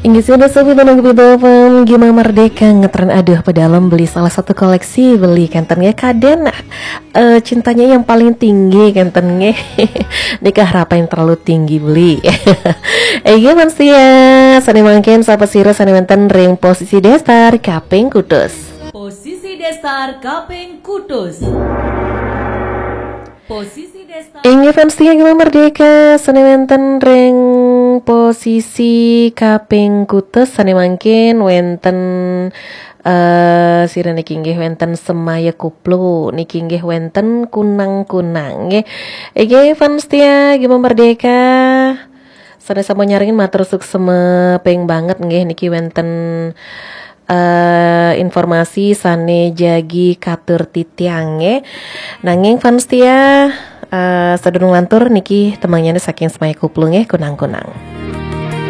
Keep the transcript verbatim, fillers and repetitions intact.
Inggih, sudah sobi nang Bidopem Gema Merdeka ngetren aduh pedalem beli salah satu koleksi beli kenten nggih kaden, eh, cintanya yang paling tinggi kenten nggih. Nikah harapan yang terlalu tinggi beli. Inggih, fans setia, sane mangkin sapa sira sane wenten ring posisi datar kaping kutus. Posisi datar kaping kutus. Posisi datar Inggih, fans setia Gema Merdeka, sane wenten ring posisi kaping kutus, sane mangkin wenten, eh, sira niki inggih wenten Semaya Kuplu, niki inggih wenten Kunang-Kunang nggih. Inggih, fans setia Gema Merdeka, sane sampun nyarengin matur suksma ping banget nggih, niki wenten eh, informasi sane jagi katur titiang nggih. Nanging, fans setia, eh, sadurung lantur niki tembangyane saking Semaya Kuplu nggih, Kunang-Kunang.